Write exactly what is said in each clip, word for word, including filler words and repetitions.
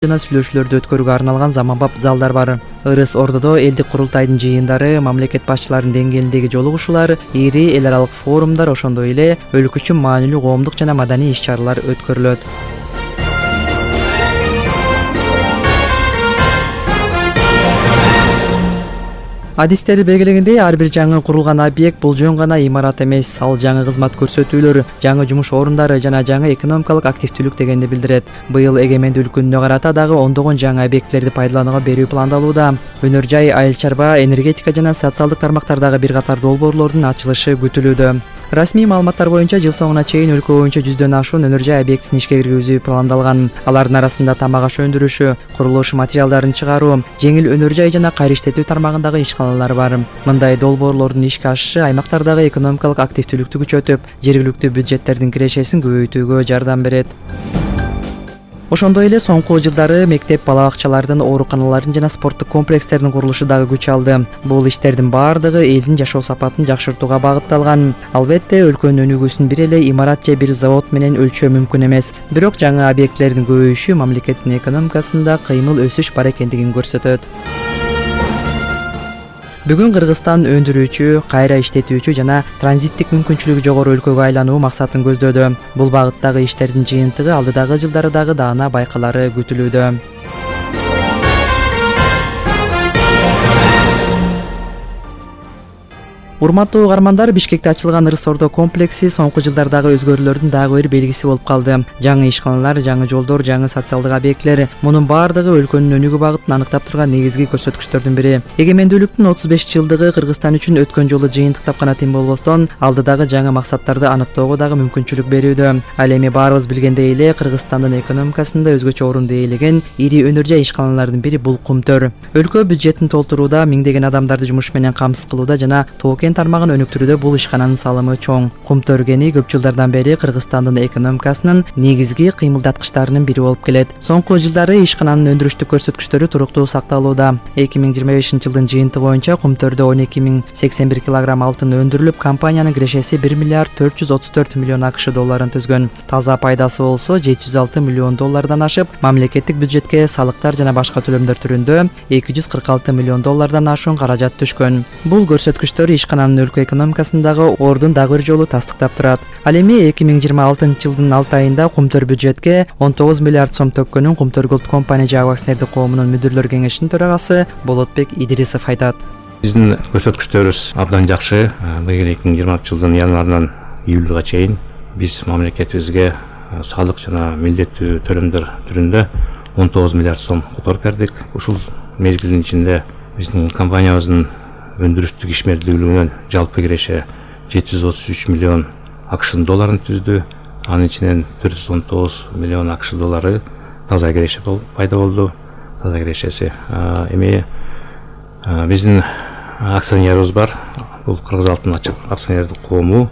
жана сүйлөшүүлөрдү өткөрүүгө арналган заманбап залдар бар. Ырыс Ордодо элдик курултайдын жыйындары, мамлекет башчыларынын деңгээлиндеги жолугушуулар, ири эл аралык форумдар, ошондой эле өлкө үчүн маанилүү коомдук жана маданий иш-чаралар өткөрүлөт. Адистер белгилегендей, ар бир жаңы курулган объект бул жөн гана имарат эмес, ал жаңы кызмат көрсөтүүлөр, жаңы жумуш орундары жана жаңы экономикалык активдүүлүк дегенди билдирет. Быйыл эгемендүүлүк күнүнө карата дагы ондогон жаңы объектилерди пайдаланууга берүү пландалууда. Өнөр жай, айыл чарба, энергетика жана социалдык тармактардагы бир катар долбоорлордун ачылышы күтүлүүдө. Расмий маалыматтар боюнча жыл соңуна чейин өлкө боюнча жүздөн ашуун өнөр жай объектисин ишке киргизүү пландалган. Алардын арасында тамак аш өндүрүшү, курулуш материалдарын чыгаруу, жеңил өнөр жай жана кайра иштетүү тармагындагы ишканалар бар. Мындай долбоорлордун ишке ашышы аймактардагы экономикалык активдүүлүктү күчөтүп, жергиликтүү бюджеттердин кирешесин көбөйтүүгө жардам берет. Ошондой эле соңку жылдары мектеп, бала бакчалардын, ооруканалардын жана спорттук комплекстердин курулушу дагы күч алды. Бул иштердин баардыгы элдин жашоо сапатын жакшыртууга багытталган. Албетте, өлкөнүн өнүгүүсүн бир эле имарат же бир завод менен өлчөө мүмкүн эмес. Бирок жаңы объектилердин көбөйүшү мамлекеттин экономикасында кыймыл өсүш бар экендигин көрсөтөт. Бүгүн Кыргызстан өндүрүүчү, кайра иштетүүчү жана транзиттик мүмкүнчүлүгү жогору өлкөгө айлануу максатын көздөөдө. Бул багыттагы иштердин жыйынтыгы алдыдагы жылдары дагы даана байкалары күтүлүүдө. Урматтуу угармандар, Бишкекте ачылган Ырыс Ордо комплекси соңку жылдардагы өзгөрүүлөрдүн дагы бир белгиси болуп калды. Жаңы ишканалар, жаңы жолдор, жаңы социалдык объектилер, мунун баардыгы өлкөнүн өнүгүү багытын аныктап турган негизги көрсөткүчтөрдүн бири. Эгемендүүлүктүн отуз беш жылдыгы Кыргызстан үчүн өткөн жолу жыйынтыктап гана тим болбостон, алдыдагы жаңы максаттарды аныктоого дагы мүмкүнчүлүк берүүдө. Ал эми баарыбыз билгендей эле, Кыргызстандын экономикасында өзгөчө орунду ээлеген ири өнөр жай ишканалардын бири бул Кумтөр. Өлкө бюджетин толтурууда, миңдеген адамдарды жумуш менен камсыз кылууда жана тоокен тармагын өнүктүрүүдө бул ишкананын салымы чоң. Кумтөр кени көп жылдардан бери Кыргызстандын экономикасынын негизги кыймылдаткычтарынын бири болуп келет. Соңку жылдары ишкананын өндүрүштүк көрсөткүчтөрү туруктуу сакталууда. эки миң жыйырма бешинчи жылдын жыйынтыгы боюнча Кумтөрдө он эки миң сексен бир килограмм алтын өндүрүлүп, компаниянын кирешеси бир миллиард төрт жүз отуз төрт миллион АКШ долларын түзгөн. Таза пайдасы болсо жети жүз алты миллион доллардан ашып, мамлекеттик бюджетке салыктар жана башка төлөмдөр түрүндө эки жүз кырк алты миллион доллардан ашуун каражат түшкөн. Бул көрсөткүчтөр ишкананын өлкө экономикасындагы ордун дагы бир жолу тастыктап турат. Ал эми эки миң жыйырма алтынчы жылдын алты айында Кумтөр бюджетке он тогуз миллиард сом төккөнүн Кумтөр Голд компания жабык акционердик коомунун мүдүрлөр кеңешинин төрагасы Болотбек Идрисов айтат. Биздин көрсөткүчтөрүбүз абдан жакшы. Быйыл эки миң жыйырманчы жылдын январынан июлга чейин биз мамлекетибизге салык жана милдеттүү төлөмдөр түрүндө он тогуз миллиард сом которуп бердик. Ушул мезгилдин ичинде биздин компаниябыздын өндүрүштүк ишмердүүлүгүнөн жалпы киреше жети жүз отуз үч миллион АКШ долларын түздү. Анын ичинен төрт жүз он тогуз миллион АКШ доллары таза киреше пайда болду. Таза кирешеси. Эми биздин акционерибиз бар. Бул Кыргыз алтын ачык акционердик коому.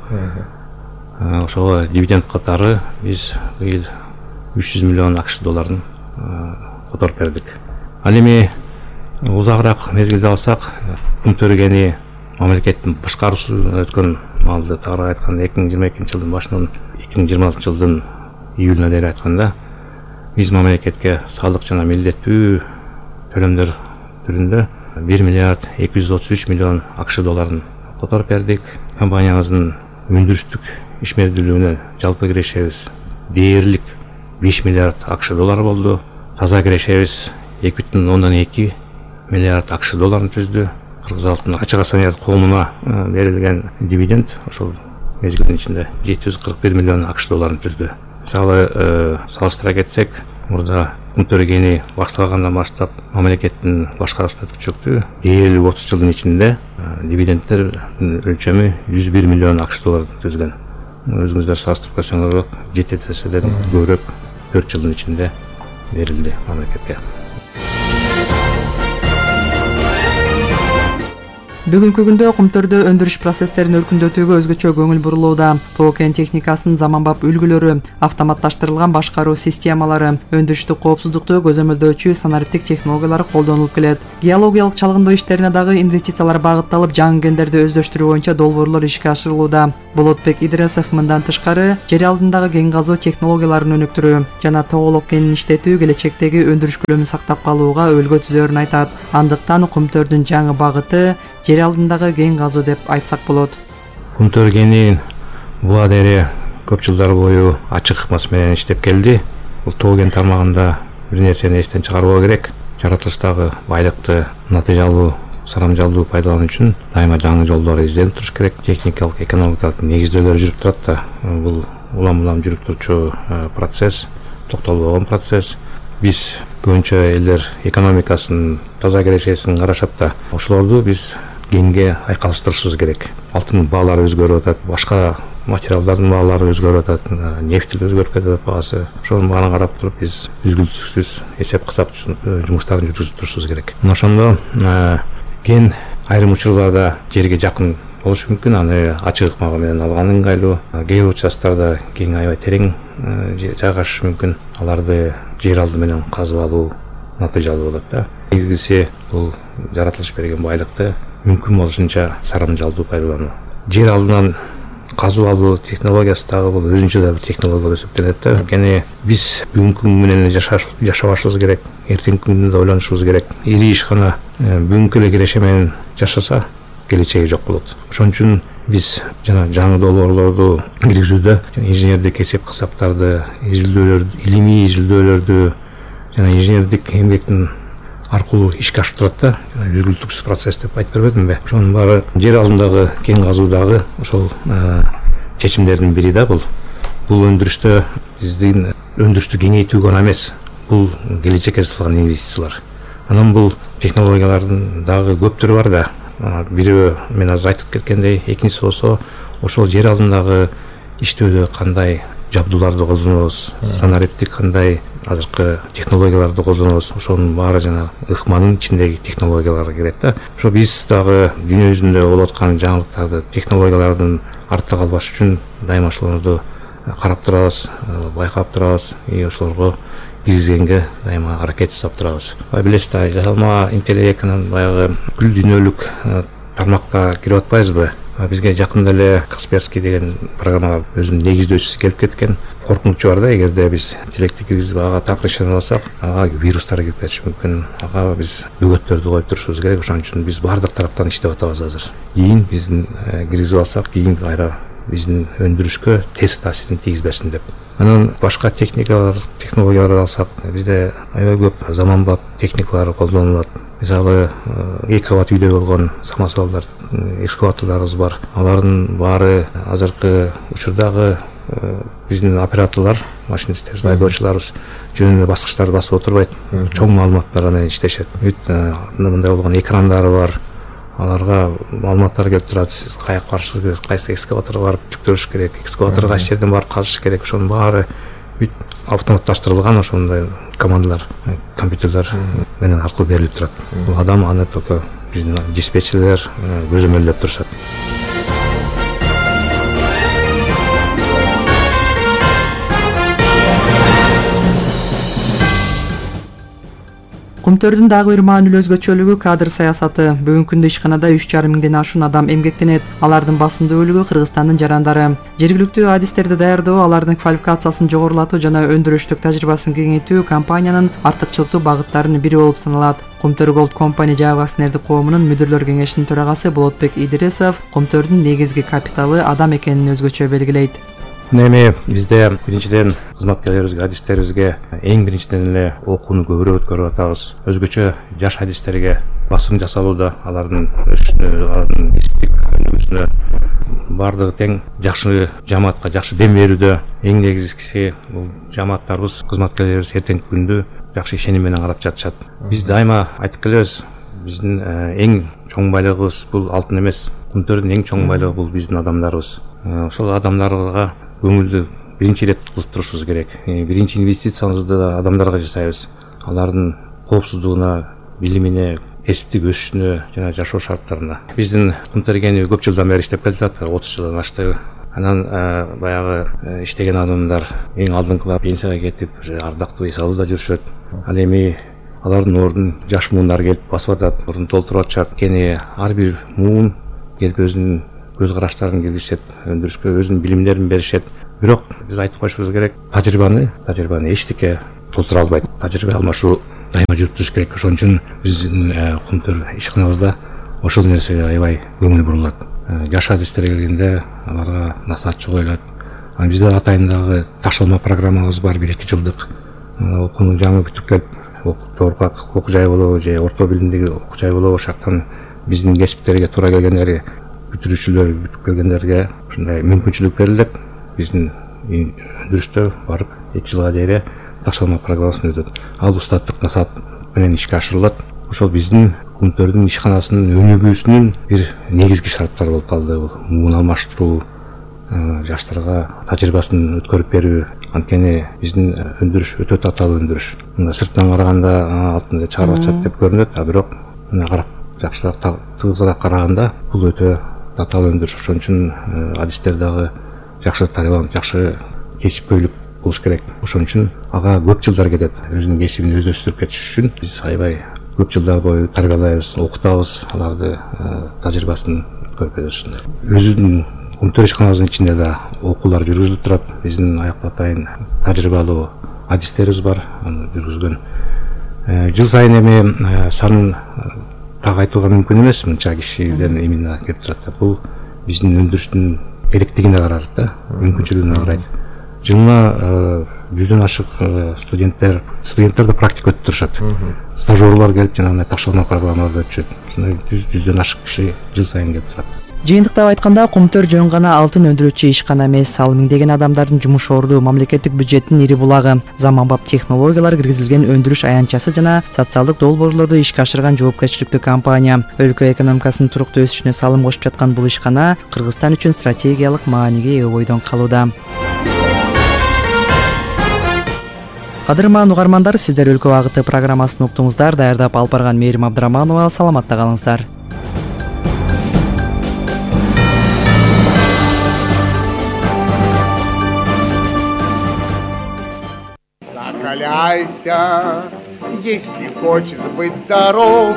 Ошого дивиденд катары биз быйыл үч жүз миллион АКШ долларын которуп бердик. Ал эми узагыраак мезгилде алсак, Кумтөр кени мамлекеттин башкаруусуна өткөн маалды тагыраак айтканда эки миң жыйырма экинчи жылдын башынан эки миң жыйырма алтынчы жылдын июлуна дейин айтканда биз мамлекетке салык жана милдеттүү төлөмдөр түрүндө бир миллиард эки жүз отуз үч миллион АКШ долларын которуп бердик. Компаниябыздын өндүрүштүк ишмердүүлүгүнө жалпы кирешебиз дээрлик беш миллиард АКШ доллары болду. Таза кирешебиз эки бүтүн ондон эки миллиард АКШ долларын түздү. Кыргыз алтын ачык акционердик коомуна берилген дивиденд ошол мезгилдин ичинде жети жүз кырк бир миллион АКШ долларын түздү. Мисалы салыштыра кетсек, мурда Кумтөр кени башталгандан баштап мамлекеттин башкаруусуна өткүчөктү дээрлик отуз жылдын ичинде дивидендтер өлчөмү жүз бир миллион АКШ долларын түзгөн. Өзүңүздөр салыштырып көрсөңүздөр жети эседен көбүрөөк төрт жылдын ичинде берилди мамлекетке. Бүгүнкү күндө Кумтөрдө өндүрүш процесстерин өркүндөтүүгө өзгөчө көңүл бурулууда. Тоо кен техникасынын заманбап үлгүлөрү, автоматташтырылган башкаруу системалары, өндүрүштүк коопсуздукту көзөмөлдөөчү санариптик технологиялар колдонулуп келет. Геологиялык чалгындоо иштерине дагы инвестициялар багытталып, жаңы кендерди өздөштүрүү боюнча долбоорлор ишке ашырылууда. Болотбек Идрисов мындан тышкары жер алдындагы кен казуу технологияларын өнүктүрүү жана тоголок кенин иштетүү келечектеги өндүрүш көлөмүн сактап калууга өлгө түзөрүн айтат. Андыктан Кумтөрдүн жаңы багыты жер алдындагы кен казуу деп айтсак болот. Кумтөр кени буга дери көп жылдар бою ачык ыкмасы менен иштеп келди. Бул тоо кен тармагында бир нерсени эстен чыгарбоо керек. Жаратылыштагы байлыкты натыйжалуу, сарамжалдуу пайдалануу үчүн дайыма жаңы жолдор изденип туруш керек. Техникалык, экономикалык негиздөөлөр жүрүп турат да. Бул улам улам жүрүп турчу процесс, токтолбогон процесс. Биз көбүнчө элдер экономикасын, таза келечегин карашат да. Ошолорду биз кенге айкалыштырышыбыз керек. Алтын баалары өзгөрүп атат, башка материалдардын баалары өзгөрүп атат, нефть өзгөрүп кетет баасы. Ошонун баарын карап туруп биз үзгүлтүксүз эсеп кысап жумуштарын жүргүзүп турушубуз керек. Мына ошондо кен айрым учурларда жерге жакын болушу мүмкүн, аны ачык ыкма менен алган ыңгайлуу. Кээ бир участтарда кен аябай терең жайгашышы мүмкүн. Аларды жер алды менен казып алуу натыйжалуу болот да. Негизгиси бул жаратылыш берген байлыкты мүмкүн болушунча сарамжалдуу пайдалануу. Жер алдынан казып алуу технологиясы дагы бул өзүнчө да бир технология болуп эсептелет да. Анткени биз бүгүнкү күн менен жашабашыбыз керек, эртеңки күндү да ойлонушубуз керек. Ири ишкана бүгүнкү эле киреше менен жашаса, келечеги жок болот. Ошон үчүн биз жана жаңы долбоорлорду киргизүүдө инженердик эсеп кысаптарды, изилдөөлөрдү, илимий изилдөөлөрдү жана инженердик эмгектин аркылуу ишке ашып турат да. Үзгүлтүксүз процесс деп айтып бербедимби? Ошонун баары жер алдындагы кен казуудагы ошол чечимдердин бири да бул. Бул өндүрүштө биздин өндүрүштү кеңейтүү гана эмес, бул келечекке салган инвестициялар. Анан бул технологиялардын дагы көп түрү бар да. Бирөө мен азыр айтып кеткендей, экинчиси болсо ошол жер алдындагы иштөөдө кандай жабдууларды колдонобуз, санариптик кандай азыркы технологияларды колдонобуз, ошонун баары жана ыкманын ичиндеги технологияларга кирет да. Ошо биз дагы дүйнө жүзүндө болуп аткан жаңылыктарды, технологиялардын артта калбаш үчүн дайыма ошолорду карап турабыз, байкап турабыз, и ошолорго киргизгенге дайыма аракет жасап турабыз. Билесиз да, жасалма интеллектинин баягы бүткүл дүйнөлүк тармакка кирип атпайбызбы? Бизге жакында эле Касперский деген программага өзүнүн негиздөөчүсү келип кеткен. Коркунучу бар да, эгерде биз интеллектти киргизип ага так решение алсак, ага вирустар кирип кетиши мүмкүн. Ага биз бөгөттөрдү коюп турушубуз керек. Ошон үчүн биз баардык тараптан иштеп атабыз азыр. Кийин биздин киргизип алсак, кийин кайра биздин өндүрүшкө терс таасирин тийгизбесин деп. Анан башка техникалар, технологияларды алсак, бизде аябай көп заманбап техникалар колдонулат. Мисалы, эки кабат үйдө болгон самосвалдар, экскаваторлорубуз бар. Алардын баары азыркы учурдагы биздин операторлор, машинисттер, айдоочуларыбыз жөнүндө баскычтарды басып отурбайт. Чоң маалыматтар менен иштешет. Мындай болгон экрандары бар. Аларга маалыматтар келип турат. Сиз каяка барышыңыз керек, кайсы экскаваторго барып жүктөлүш керек, экскаваторго кайсы жерден барып казыш керек. Ошонун баары бүт автоматташтырылган ошондой командалар, компьютерлер менен аркылуу берилип турат. Бул адам аны только биздин диспетчерлер көзөмөлдөп турушат. Кумтөрдүн дагы бир маанилүү өзгөчөлүгү кадр саясаты. Бүгүнкү күндө ишканада үч жарым миңден ашуун адам эмгектенет. Алардын басымдуулугу Кыргызстандын жарандары. Жергиликтүү адистерди даярдоо, алардын квалификациясын жогорулатуу жана өндүрүштүк тажрыйбасын кеңейтүү компаниянын артыкчылыктуу багыттарынын бири болуп саналат. Кумтөр Gold Company жайгы акционердик коомунун мүдүрлөр кеңешинин төрагасы Болотбек Идрисов Кумтөрдүн негизги капиталы адам экенин өзгөчө белгилейт. Эми бизде биринчиден кызматкерлерибизге, адистерибизге эң биринчиден эле окууну көбүрөөк өткөрүп атабыз. Өзгөчө жаш адистерге басым жасалууда, алардын өсүшүнө, алардын кесиптик өнүгүүсүнө баардыгы тең жакшы жамаатка жакшы дем берүүдө. Эң негизгиси бул жамааттарыбыз, кызматкерлерибиз эртеңки күндү жакшы ишеним менен карап жатышат. Биз дайыма айтып келебиз, биздин эң чоң байлыгыбыз бул алтын эмес. Кумтөрдүн эң чоң байлыгы бул биздин адамдарыбыз. Ошол адамдарга көңүлдү биринчи ирет кылып турушубуз керек. Биринчи инвестициябызды да адамдарга жасайбыз. Алардын коопсуздугуна, билимине, кесиптик өсүшүнө жана жашоо шарттарына. Биздин Кумтергени көп жылдан бери иштеп келатат, отуз жылдан ашты. Анан баягы иштеген адамдар эң алдыңкылар пенсияга кетип, ардактуу эс алууда жүрүшөт. Ал эми алардын ордун жаш муундар келип басып атат, ордун толтуруп атышат. Кени ар бир муун келип өзүнүн көз караштарын киргизишет, өндүрүшкө өзүнүн билимдерин беришет. Бирок биз айтып коюшубуз керек, тажрыйбаны, тажрыйбаны эчтеке толтура албайт. Тажрыйба алмашуу дайыма жүрүп туруш керек. Ошон үчүн биздин Кумтөр ишканабызда ошол нерсеге аябай көңүл бурулат. Жаш адистерге келгенде аларга насаатчы коюлат. Анан бизде атайындагы ташталма программабыз бар, бир эки жылдык. Окууну жаңы бүтүп келип, жогорку окуу жай болобу же орто билимдеги окуу жай болобу, ошактан биздин кесиптерге туура келгендер, бүтүрүүчүлөр бүтүп келгендерге ушундай мүмкүнчүлүк берилет. Биздин өндүрүштө барып эки жылга дейре ташталма программасын өтөт. Ал устаттык насаат менен ишке ашырылат. Ошол биздин Кумтөрдүн ишканасынын өнүгүүсүнүн бир негизги шарттары болуп калды. Бул муун алмаштыруу, жаштарга тажрыйбасын өткөрүп берүү. Анткени биздин өндүрүш өтө татаал өндүрүш. Мында сырттан караганда алтынды чыгарып атышат деп көрүнөт, а бирок мына карап жакшыраак тыгызыраак караганда бул өтө татаал өндүрүш. Ошон үчүн адистер дагы жакшы тарбияланып, жакшы кесипкөйлүк болуш керек. Ошон үчүн ага көп жылдар кетет. Өзүнүн кесибин өздөштүрүп кетиш үчүн биз аябай көп жылдар бою тарбиялайбыз, окутабыз, аларды тажрыйбасын өткөрүп беребиз. Өзүнүн Кумтөр ишканабыздын ичинде да окуулар жүргүзүлүп турат. Биздин аякта атайын тажрыйбалуу адистерибиз бар, аны жүргүзгөн. Жыл сайын эми санын так айтууга мүмкүн эмес, мынча кишиден именно келип турат. Бул биздин өндүрүштүн керектигине карайт да, мүмкүнчүлүгүнө карайт. Жылына жүздөн ашык студенттер, студенттер да практика өтүп турушат. Стажерлар келип жана ташталма программаларды өтүшөт. Ушундай жүздөн ашык киши жыл сайын келип турат. Жыйынтыктап айтканда, Кумтөр жөн гана алтын өндүрүүчү ишкана эмес, ал миңдеген адамдардын жумуш орду, мамлекеттик бюджеттин ири булагы, заманбап технологиялар киргизилген өндүрүш аянтчасы жана социалдык долбоорлорду ишке ашырган жоопкерчиликтүү компания. Өлкө экономикасынын туруктуу өсүшүнө салым кошуп жаткан бул ишкана Кыргызстан үчүн стратегиялык мааниге ээ бойдон калууда. Кадырман угармандар, сиздер Өлкө багыты программасын уктуңуздар. Даярдап алып барган Мээрим Абдыраманова. Саламатта калыңыздар. Закаляйся, если хочешь быть здоров.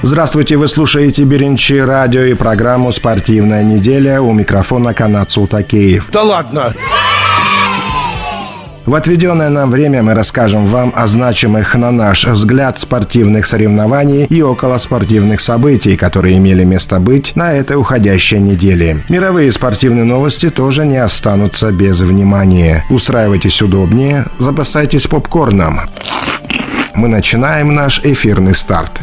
Здравствуйте, вы слушаете Беренчи радио и программу «Спортивная неделя». У микрофона Канат Султакеев. Да ладно! В отведенное нам время мы расскажем вам о значимых, на наш взгляд, спортивных соревнований и околоспортивных событий, которые имели место быть на этой уходящей неделе. Мировые спортивные новости тоже не останутся без внимания. Устраивайтесь удобнее, запасайтесь попкорном. Мы начинаем наш эфирный старт.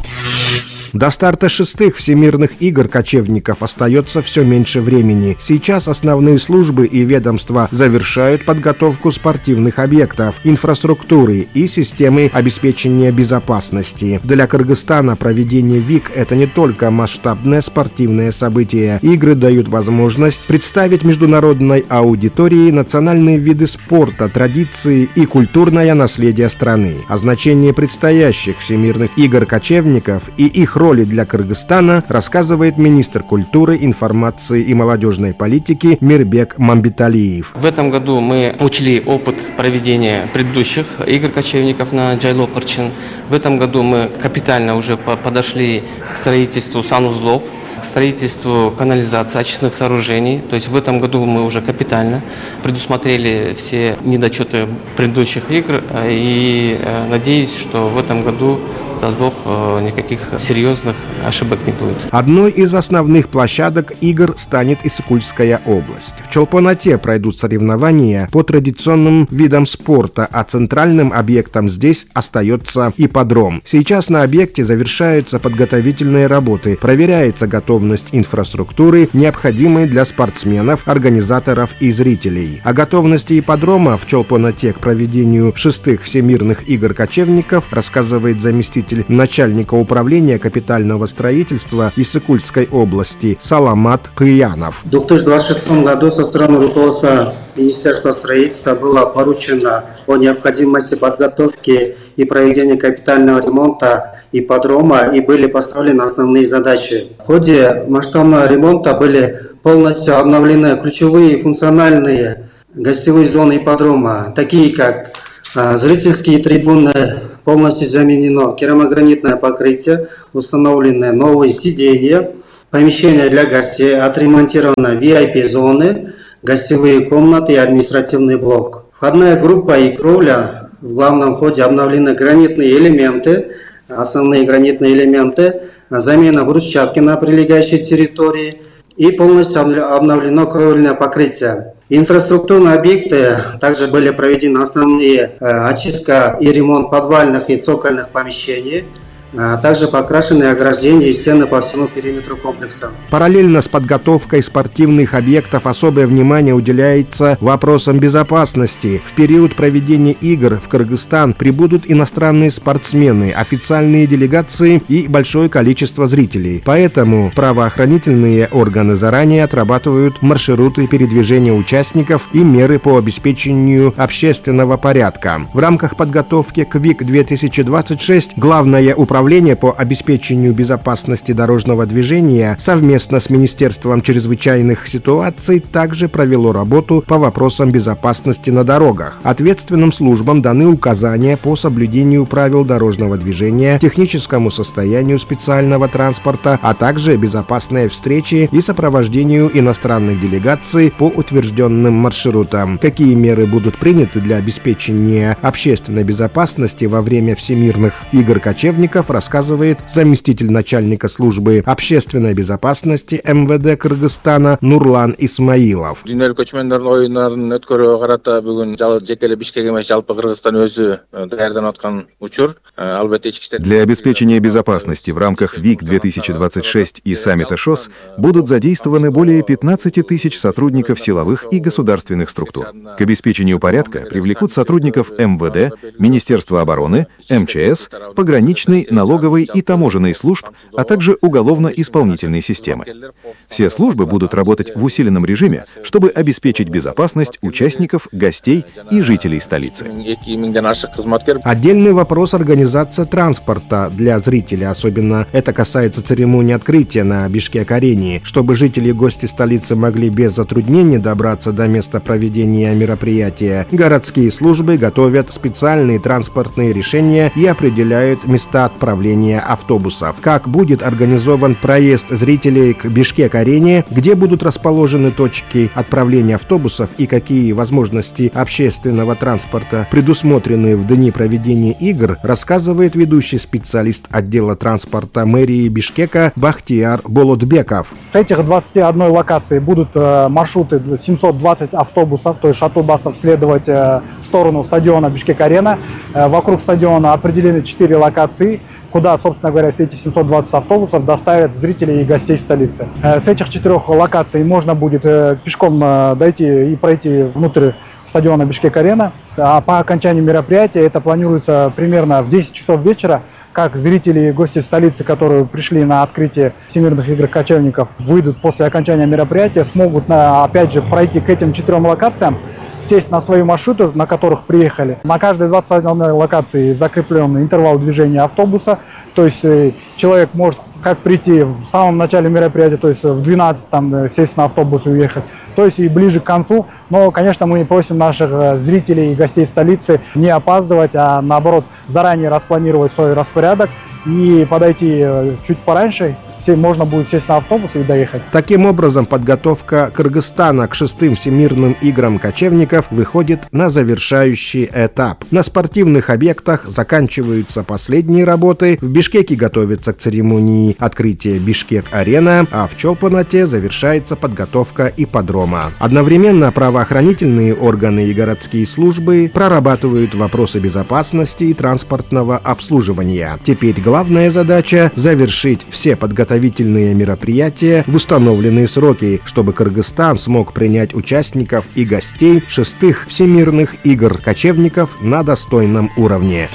До старта шестых всемирных игр кочевников остается все меньше времени. Сейчас основные службы и ведомства завершают подготовку спортивных объектов, инфраструктуры и системы обеспечения безопасности. Для Кыргызстана проведение ВИК – это не только масштабное спортивное событие. Игры дают возможность представить международной аудитории национальные виды спорта, традиции и культурное наследие страны. О значении предстоящих всемирных игр кочевников и их роли для Кыргызстана рассказывает министр культуры, информации и молодежной политики Мирбек Мамбеталиев. В этом году мы учли опыт проведения предыдущих игр кочевников на Джайло-Кырчын. В этом году мы капитально уже подошли к строительству санузлов, к строительству канализации, очистных сооружений. То есть в этом году мы уже капитально предусмотрели все недочеты предыдущих игр. И надеюсь, что в этом году, даст Бог, никаких серьезных ошибок не будет. Одной из основных площадок игр станет Иссыкульская область. В Чолпон-Ате пройдут соревнования по традиционным видам спорта, а центральным объектом здесь остается ипподром. Сейчас на объекте завершаются подготовительные работы, проверяется готовность инфраструктуры, необходимой для спортсменов, организаторов и зрителей. О готовности ипподрома в Чолпон-Ате к проведению шестых всемирных игр кочевников рассказывает заместитель заместитель начальника управления капитального строительства Иссыкульской области Саламат Кыянов. В две тысячи двадцать шестом году со стороны руководства Министерства строительства было поручено о необходимости подготовки и проведения капитального ремонта ипподрома, и были поставлены основные задачи. В ходе масштабного ремонта были полностью обновлены ключевые функциональные гостевые зоны ипподрома, такие как а, зрительские трибуны, полностью заменено керамогранитное покрытие, установлены новые сиденья, помещения для гостей, отремонтированы ви ай пи-зоны, гостевые комнаты и административный блок. Входная группа и кровля в главном входе обновлены гранитные элементы, основные гранитные элементы, замена брусчатки на прилегающей территории и полностью обновлено кровельное покрытие. Инфраструктурные объекты также были проведены основные очистка и ремонт подвальных и цокольных помещений. Также покрашены ограждения и стены по всему периметру комплекса. Параллельно с подготовкой спортивных объектов особое внимание уделяется вопросам безопасности. В период проведения игр в Кыргызстан прибудут иностранные спортсмены, официальные делегации и большое количество зрителей. Поэтому правоохранительные органы заранее отрабатывают маршруты передвижения участников и меры по обеспечению общественного порядка. В рамках подготовки к ВИК две тысячи двадцать шесть главное управление Управление по обеспечению безопасности дорожного движения совместно с Министерством чрезвычайных ситуаций также провело работу по вопросам безопасности на дорогах. Ответственным службам даны указания по соблюдению правил дорожного движения, техническому состоянию специального транспорта, а также безопасной встрече и сопровождению иностранных делегаций по утвержденным маршрутам. Какие меры будут приняты для обеспечения общественной безопасности во время всемирных игр кочевников, рассказывает заместитель начальника службы общественной безопасности эм вэ дэ Кыргызстана Нурлан Исмаилов. Дүйнөлүк көчмөндөрдүн оюндарын өткөрүүгө карата бүгүн жеке эле Бишкек эмес, жалпы Кыргызстан өзү даярданып аткан учур. Албетте ички иштер. Для обеспечения безопасности в рамках ВИК две тысячи двадцать шесть и саммита ШОС будут задействованы более пятнадцати тысяч сотрудников силовых и государственных структур. К обеспечению порядка привлекут сотрудников эм вэ дэ, Министерства обороны, эм че эс, пограничной, налоговой и таможенной служб, а также уголовно-исполнительной системы. Все службы будут работать в усиленном режиме, чтобы обеспечить безопасность участников, гостей и жителей столицы. Отдельный вопрос — организация транспорта для зрителей, особенно это касается церемонии открытия на Бишкек-арене, чтобы жители и гости столицы могли без затруднений добраться до места проведения мероприятия. Городские службы готовят специальные транспортные решения и определяют места отправления автобусов. Как будет организован проезд зрителей к Бишкек-арене, где будут расположены точки отправления автобусов и какие возможности общественного транспорта предусмотрены в дни проведения игр, рассказывает ведущий специалист отдела транспорта мэрии Бишкека Бахтияр Болотбеков. С этих двадцати одной локаций будут маршруты семьсот двадцать автобусов, то есть шаттл-басов, следовать в сторону стадиона Бишкек-арена. Вокруг стадиона определены четыре локации, куда, собственно говоря, все эти семьсот двадцать автобусов доставят зрителей и гостей столицы. С этих четырех локаций можно будет пешком дойти и пройти внутрь стадиона Бишкек-арена. А по окончанию мероприятия, это планируется примерно в десять часов вечера, как зрители и гости столицы, которые пришли на открытие Всемирных игр кочевников, выйдут после окончания мероприятия, смогут, опять же, пройти к этим четырем локациям, сесть на свои маршруты, на которых приехали. На каждой двадцать одной локации закреплен интервал движения автобуса, то есть человек может как прийти в самом начале мероприятия, то есть в двенадцать там сесть на автобус и уехать, то есть и ближе к концу. Но, конечно, мы просим наших зрителей и гостей столицы не опаздывать, а наоборот заранее распланировать свой распорядок и подойти чуть пораньше, можно будет сесть на автобус и доехать. Таким образом, подготовка Кыргызстана к шестым всемирным играм кочевников выходит на завершающий этап. На спортивных объектах заканчиваются последние работы, в Бишкеке готовится к церемонии открытия Бишкек-арена, а в Чолпанате завершается подготовка ипподрома. Одновременно правоохранительные органы и городские службы прорабатывают вопросы безопасности и транспортного обслуживания. Теперь главная задача — завершить все подготовительные мероприятия в установленные сроки, чтобы Кыргызстан смог принять участников и гостей шестых всемирных игр кочевников на достойном уровне.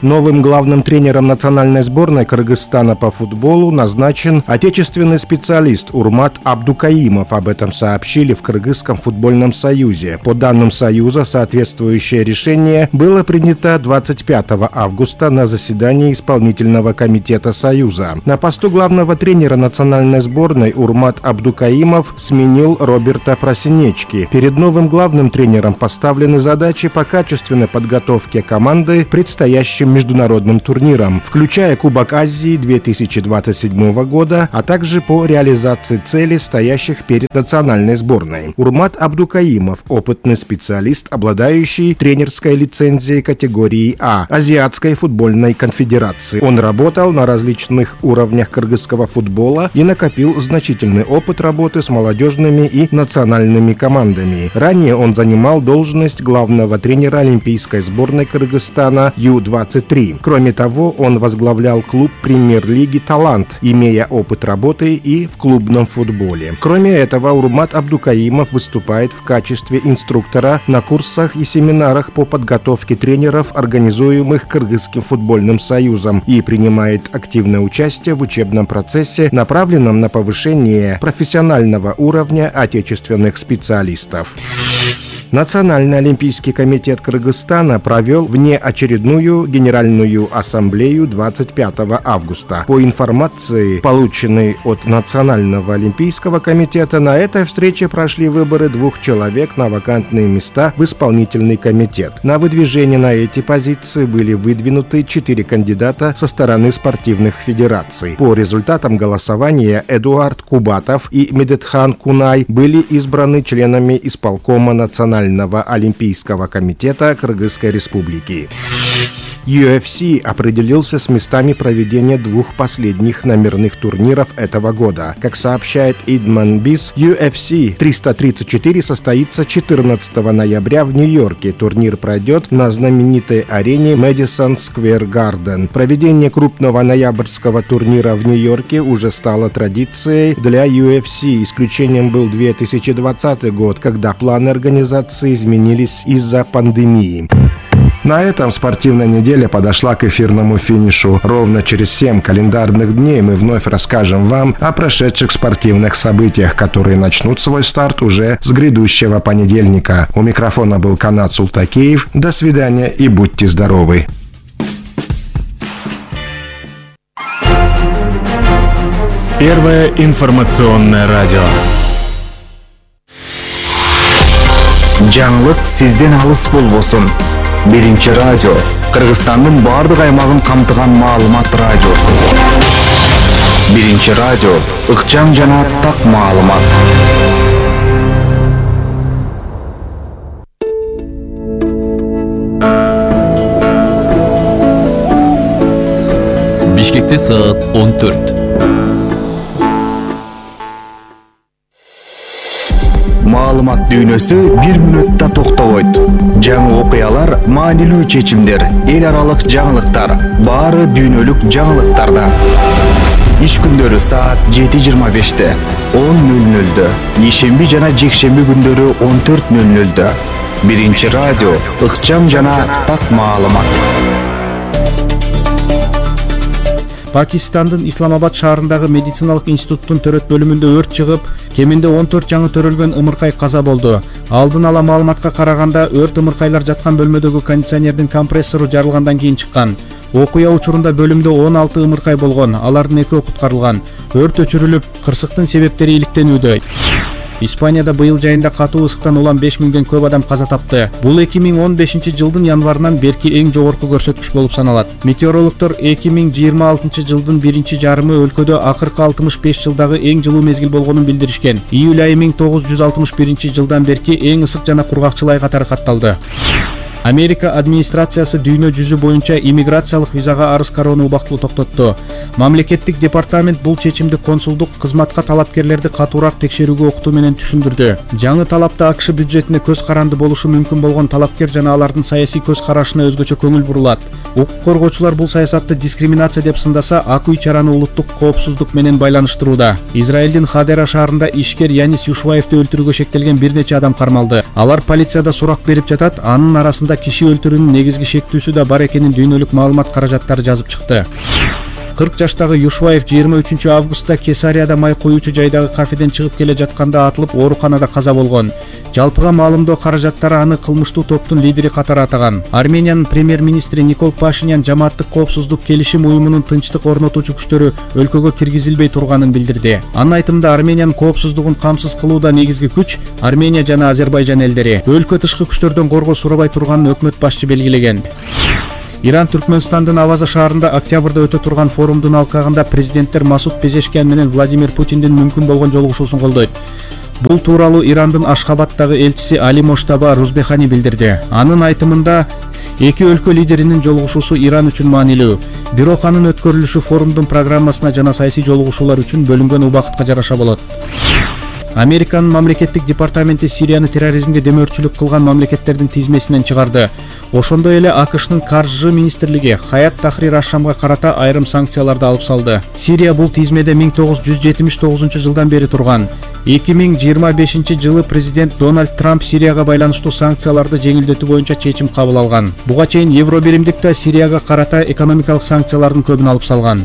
Новым главным тренером национальной сборной Кыргызстана по футболу назначен отечественный специалист Урмат Абдукаимов. Об этом сообщили в Кыргызском футбольном союзе. По данным союза, соответствующее решение было принято двадцать пятого августа на заседании исполнительного комитета союза. На посту главного тренера национальной сборной Урмат Абдукаимов сменил Роберта Просинечки. Перед новым главным тренером поставлены задачи по качественной подготовке команды к предстоящим международным турнирам, включая Кубок Азии две тысячи двадцать седьмого года, а также по реализации целей, стоящих перед национальной сборной. Урмат Абдукаимов – опытный специалист, обладающий тренерской лицензией категории А Азиатской футбольной конфедерации. Он работал на различных уровнях кыргызского футбола и накопил значительный опыт работы с молодежными и национальными командами. Ранее он занимал должность главного тренера олимпийской сборной Кыргызстана Ю двадцать три. Кроме того, он возглавлял клуб премьер-лиги «Талант», имея опыт работы и в клубном футболе. Кроме этого, Урмат Абдукаимов выступает в качестве инструктора на курсах и семинарах по подготовке тренеров, организуемых Кыргызским футбольным союзом, и принимает активное участие в учебном процессе, направленном на повышение профессионального уровня отечественных специалистов. Национальный олимпийский комитет Кыргызстана провел внеочередную Генеральную ассамблею двадцать пятого августа. По информации, полученной от Национального олимпийского комитета, на этой встрече прошли выборы двух человек на вакантные места в исполнительный комитет. На выдвижение на эти позиции были выдвинуты четыре кандидата со стороны спортивных федераций. По результатам голосования Эдуард Кубатов и Медетхан Кунай были избраны членами исполкома Национального олимпийского комитета Кыргызской республики. ю эф си определился с местами проведения двух последних номерных турниров этого года. Как сообщает Идман Биз, ю эф си триста тридцать четыре состоится четырнадцатого ноября в Нью-Йорке. Турнир пройдет на знаменитой арене Madison Square Garden. Проведение крупного ноябрьского турнира в Нью-Йорке уже стало традицией для ю эф си. Исключением был две тысячи двадцатый год, когда планы организации изменились из-за пандемии. На этом спортивная неделя подошла к эфирному финишу. Ровно через семь календарных дней мы вновь расскажем вам о прошедших спортивных событиях, которые начнут свой старт уже с грядущего понедельника. У микрофона был Канат Султакеев. До свидания и будьте здоровы. Первое информационное радио. Жаңылык сизден алыс болбосун. Биринчи радио Кыргызстандын бардык аймагын камтыган маалымат радиосу. Биринчи радио ыкчам жана так маалымат. Бишкекте саат он төрт. Маалымат дүйнөсү бир мүнөттө токтобойт. Жаңы окуялар, маанилүү чечимдер, эл аралык жаңылыктар, баары дүйнөлүк жаңылыктарда. Иш күндөрү саат жети жыйырма беште, он нөл нөлдө, ишемби жана жекшемби күндөрү он төрт нөл нөлдө. Биринчи радио ыкчам жана так маалымат. Пакистандын Исламабад шаарындагы медициналык институттун төрөт бөлүмүндө өрт чыгып, кеминде он төрт жаңы төрөлгөн ымыркай каза болду. Алдын ала маалыматка караганда, өрт ымыркайлар жаткан бөлмөдөгү кондиционердин компрессору жарылгандан кийин чыккан. Окуя учурунда бөлүмдө он алты ымыркай болгон, алардын экөө куткарылган. Өрт өчүрүлүп, кырсыктын себептери иликтенүүдө. Испанияда быйыл жайында катуу ысыктан улам беш миңден көп адам каза тапты. Бул эки миң он бешинчи жылдын январынан берки эң жогорку көрсөткүч болуп саналат. Метеорологдор эки миң жыйырма алтынчы жылдын биринчи жарымы өлкөдө акыркы алтымыш беш жылдагы эң жылуу мезгил болгонун билдиришкен. Июль айы миң тогуз жүз алтымыш биринчи жылдан берки эң ысык жана кургакчыл ай катары катталды. Америка администрациясы дүйнө жүзү боюнча иммиграциялык визага арыз кароону убактылуу токтотту. Мамлекеттик департамент бул чечимди консулдук кызматка талапкерлерди катуураак текшерүүгө окутуу менен түшүндүрдү. Жаңы талапта АКШ бюджетине көз каранды болушу мүмкүн болгон талапкер жана алардын саясий көз карашына өзгөчө көңүл бурулат. Укук коргоочулар бул саясатты дискриминация деп сындаса, ак үй чараны улуттук коопсуздук менен байланыштырууда. Израилдин Хадера шаарында ишкер Янис Юшваевди өлтүрүүгө шектелген бир нече адам кармалды. Алар полицияда сурак берип жатат, анын арасында арасында киши өлтүрүүнүн негизги шектүүсү да бар экенин дүйнөлүк маалымат каражаттары жазып чыкты. кырк жаштагы Юшваев жыйырма үчүнчү августта Кесарияда май куюучу жайдагы кафеден чыгып келе жатканда атылып ооруканада каза болгон. Жалпыга маалымдоо каражаттары аны кылмыштуу топтун лидери катары атаган. Армениянын премьер-министри Никол Пашинян жамааттык коопсуздук келишим уюмунун тынчтык орнотуучу күчтөрү өлкөгө киргизилбей турганын билдирди. Анын айтымында Армениянын коопсуздугун камсыз кылууда негизги күч Армения жана Азербайжан элдери. Өлкө тышкы күчтөрдөн коргоо сурабай турганын өкмөт башчы белгилеген. Иран Түркмөнстандын Аваза шаарында октябрда өтө турган форумдун алкагында президенттер Масуд Пезешкиан менен Владимир Путиндин мүмкүн болгон жолугушуусун колдойт. Бул тууралуу Ирандын Ашхабадтагы элчиси Али Моштаба Рузбехани билдирди. Анын айтымында эки өлкө лидеринин жолугушуусу Иран үчүн маанилүү. Бирок анын өткөрүлүшү форумдун программасына жана саясий жолугушуулар үчүн бөлүнгөн убакытка жараша болот. Американын мамлекеттик департаменти Сирияны терроризмге демөөрчүлүк кылган мамлекеттердин тизмесинен чыгарды. Ошондой эле АКШнын каржы министрлиги Хаят Тахрир аш-Шамга карата айрым санкцияларды алып салды. Сирия бул тизмеде миң тогуз жүз жетимиш тогузунчу жылдан бери турган. эки миң жыйырма бешинчи жылы президент Дональд Трамп Сирияга байланыштуу санкцияларды жеңилдетүү боюнча чечим кабыл алган. Буга чейин Евробиримдик да Сирияга карата экономикалык санкциялардын көбүн алып салган.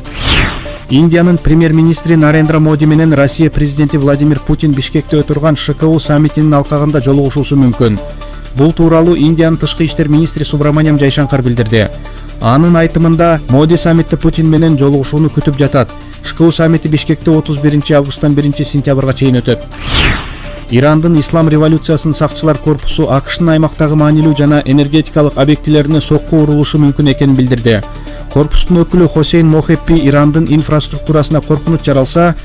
Индиянын премьер-министри Нарендра Моди менен Россия президенти Владимир Путин Бишкекте өтүргөн ШКУ саммитинин алкагында жолугушуусу мүмкүн. Бул тууралуу Индиянын тышкы иштер министри Субраманиям Жайшанкар билдирди. Анын айтымында Моди саммитте Путин менен жолугушууну күтүп жатат. ШКУ саммити Бишкекте отуз биринчи августтан биринчи сентябрга чейин өтөт. Ирандын ислам революциясынын сакчылар корпусу АКШнын аймактагы маанилүү жана энергетикалык объектилерине сокку урулушу мүмкүн экенин билдирди. Корпустун өкүлү Хосейн Мохеппи Ирандын инфраструктурасына коркунуч жаралса,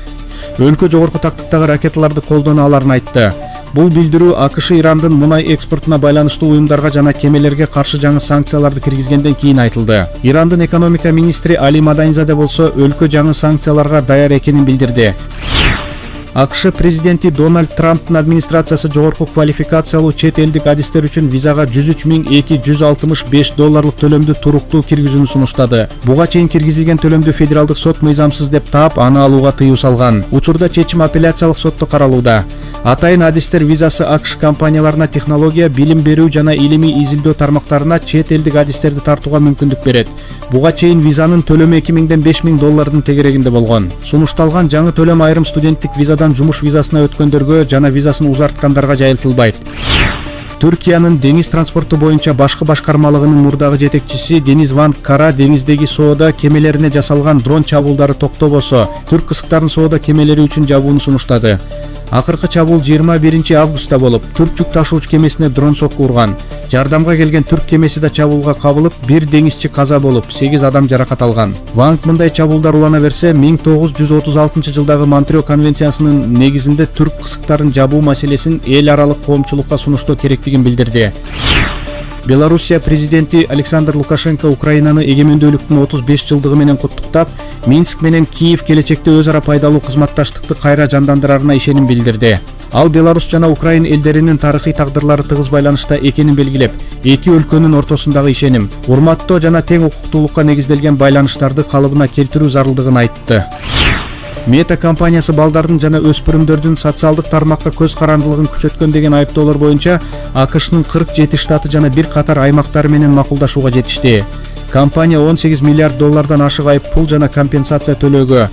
өлкө жогорку тактыктагы ракеталарды колдоно аларын айтты. Бул билдирүү АКШ Ирандын мунай экспортуна байланыштуу уюмдарга жана кемелерге каршы жаңы санкцияларды киргизгенден кийин айтылды. Ирандын экономика министри Али Маданизаде болсо өлкө жаңы санкцияларга даяр экенин билдирди. АКШ президенти Дональд Трамптын администрациясы жогорку квалификациялуу чет элдик адистер үчүн визага жүз үч миң эки жүз алтымыш беш долларлык төлөмдү туруктуу киргизүүнү сунуштады. Буга чейин киргизилген төлөмдү федералдык сот мыйзамсыз деп таап, аны алууга тыюу салган. Учурда чечим апелляциялык сотто каралууда. Атайын адистер визасы АКШ компанияларына технология, билим берүү жана илимий изилдөө тармактарына чет элдик адистерди тартууга мүмкүндүк берет. Буга чейин визанын төлөмү эки миңден беш миң доллардын тегерегинде болгон. Сунушталган жаңы төлөм айрым студенттик визадан жумуш визасына өткөндөргө жана визасын узарткандарга жайылтылбайт. Түркиянын деңиз транспорту боюнча башкы башкармалыгынын мурдагы жетекчиси Дениз Ван Кара деңиздеги соода кемелерине жасалган дрон чабуулдары токтобосо, түрк кызыктарын соода кемелери үчүн жабууну сунуштады. Акыркы чабуул жыйырма биринчи августта болуп, түрк жүк ташуучу кемесине дрон сокку урган. Жардамга келген түрк кемеси да чабуулга кабылып, бир деңизчи каза болуп, сегиз адам жаракат алган. Ванг мындай чабуулдар улана берсе, миң тогуз жүз отуз алтынчы жылдагы Монтрео конвенциясынын негизинде түрк кызыктарын жабуу маселесин эл аралык коомчулукка сунуштоо керектигин билдирди. Белоруссия президенти Александр Лукашенко Украинаны эгемендүүлүктүн отуз беш жылдыгы менен куттуктап, Минск менен Киев келечекте өз ара пайдалуу кызматташтыкты кайра жандандырарына ишеним билдирди. Ал Беларусь жана Украин элдеринин тарыхый тагдырлары тыгыз байланышта экенин белгилеп, эки өлкөнүн ортосундагы ишеним, урматтоо жана тең укуктуулукка негизделген байланыштарды калыбына келтирүү зарылдыгын айтты. Мета компаниясы балдардын жана өспүрүмдөрдүн социалдык тармакка көз карандылыгын күчөткөн деген айыптоолор боюнча АКШнын кырк жети штаты жана бир катар аймактары менен макулдашууга жетишти. Компания он сегиз миллиард доллардан ашык айып пул жана компенсация төлөөгө,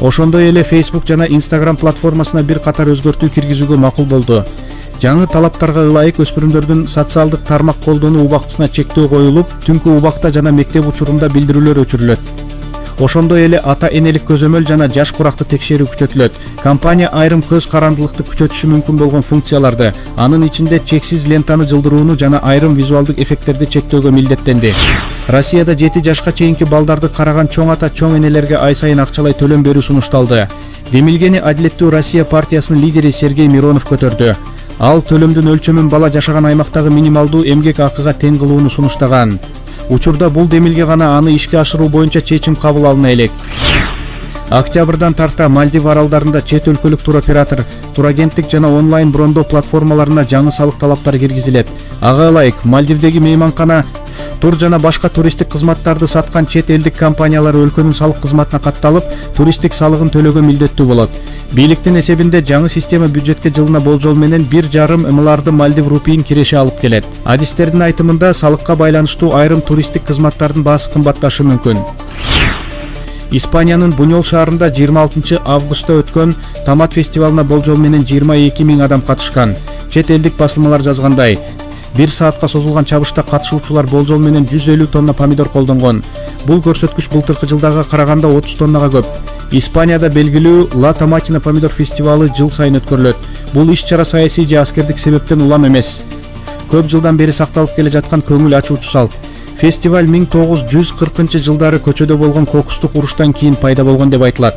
ошондой эле Facebook жана Instagram платформасына бир катар өзгөртүү киргизүүгө макул болду. Жаңы талаптарга ылайык өспүрүмдөрдүн социалдык тармак колдонуу убактысына чектөө коюлуп, түнкү убакта жана мектеп учурунда билдирүүлөр өчүрүлөт. Ошондой эле ата-энелик көзөмөл жана жаш куракты текшерүү күчөтүлөт. Компания айрым көз карандылыкты күчөтүшү мүмкүн болгон функцияларды, анын ичинде чексиз лентаны жылдырууну жана айрым визуалдык эффекттерди чектөөгө милдеттенди. Россияда жети жашка чейинки балдарды караган чоң ата чоң энелерге ай сайын акчалай төлөм берүү сунушталды. Демилгени Адилеттүү Россия партиясынын лидери Сергей Миронов көтөрдү. Ал төлөмдүн өлчөмүн бала жашаган аймактагы минималдуу эмгек акыга тең кылууну сунуштаган. Учурда бул демилге гана аны ишке ашыруу боюнча чечим кабыл алына элек. Октябрдан тарта Мальдив аралдарында чет өлкөлүк туроператор, турагенттик жана онлайн брондоо платформаларына жаңы салык талаптары киргизилет. Ага ылайык, Мальдивдеги мейманкана тур жана башка туристтик кызматтарды саткан чет элдик компаниялар өлкөнүн салык кызматына катталып, туристтик салыгын төлөөгө милдеттүү болот. Бийликтин эсебинде жаңы система бюджетке жылына болжол менен бир жарым миллиарды Мальдив рупийин киреше алып келет. Адистердин айтымында салыкка байланыштуу айрым туристтик кызматтардын баасы кымбатташы мүмкүн. Испаниянын Буньол шаарында жыйырма алтынчы августта өткөн томат фестивалына болжол менен жыйырма эки миң адам катышкан. Чет элдик басылмалар жазгандай, бир саатка созулган чабышта катышуучулар болжол менен жүз элүү тонна помидор колдонгон. Бул көрсөткүч былтыркы жылдага караганда отуз тоннага көп. Испанияда белгилүү Ла Томатина помидор фестивалы жыл сайын өткөрүлөт. Бул иш-чара саясий же аскердик себептен улам эмес. Көп жылдан бери сакталып келе жаткан көңүл ачуучу салт. Фестиваль миң тогуз жүз кыркынчы жылдары көчөдө болгон кокустук уруштан кийин пайда болгон деп айтылат.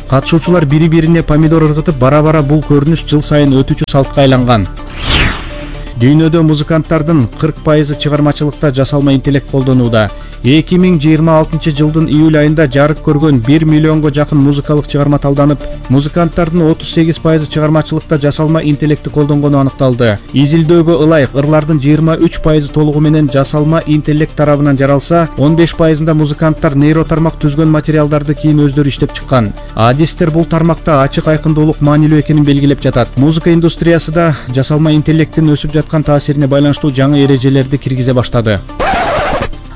Катышуучулар бири-бирине помидор ыргытып, бара-бара бул көрүнүш жыл сайын өтүүчү салтка айланган. Дүйнөдө музыканттардын кырк пайызы чыгармачылыкта жасалма интеллект колдонууда. эки миң жыйырма алтынчы жылдын июль айында жарык көргөн бир миллионго жакын музыкалык чыгарма талданып, музыканттардын отуз сегиз пайызы чыгармачылыкта жасалма интеллектти колдонгону аныкталды. Изилдөөгө ылайык ырлардын жыйырма үч пайызы толугу менен жасалма интеллект тарабынан жаралса, он беш пайызында музыканттар нейротармак түзгөн материалдарды кийин өздөрү иштеп чыккан. Адистер бул тармакта ачык айкындуулук маанилүү экенин белгилеп жатат. Музыка индустриясы да жасалма интеллекттин өсүп жаткан таасирине байланыштуу жаңы эрежелерди киргизе баштады.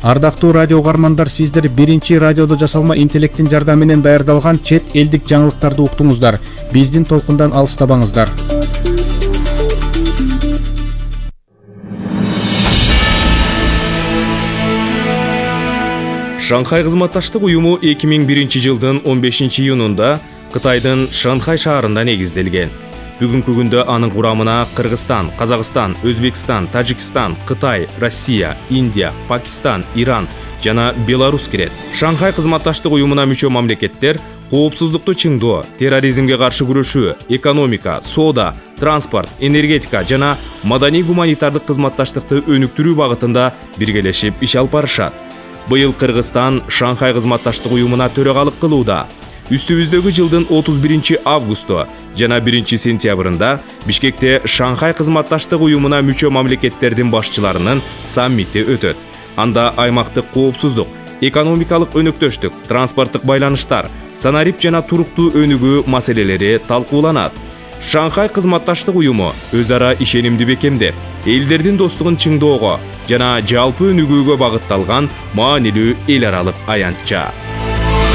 Ардактуу радио угармандар, сиздер биринчи радиодо жасалма интеллекттин жардамы менен даярдалган чет элдик жаңылыктарды уктуңуздар. Биздин толкундан алыстабаңыздар. Шанхай кызматташтык уюму эки миң биринчи жылдын он бешинчи июнунда Кытайдын Шанхай шаарында негизделген. Бүгүнкү күндө анын курамына Кыргызстан, Казакстан, Өзбекстан, Тажикстан, Кытай, Россия, Индия, Пакистан, Иран жана Беларусь кирет. Шанхай кызматташтык уюмуна мүчө мамлекеттер коопсуздукту чыңдоо, терроризмге каршы күрөшүү, экономика, соода, транспорт, энергетика жана маданий-гуманитардык кызматташтыкты өнүктүрүү багытында биргелешип иш алып барышат. Быйыл Кыргызстан Шанхай кызматташтык уюмуна төрөгалык кылууда. Үстүбүздөгү жылдын отуз биринчи августу жана биринчи сентябрында Бишкекте Шанхай кызматташтык уюмуна мүчө мамлекеттердин башчыларынын саммити өтөт. Анда аймактык коопсуздук, экономикалык өнөктөштүк, транспорттук байланыштар, санарип жана туруктуу өнүгүү маселелери талкууланат. Шанхай кызматташтык уюму өз ара ишенимди бекемдеп, элдердин достугун чыңдоого жана жалпы өнүгүүгө багытталган маанилүү эл аралык аянтча.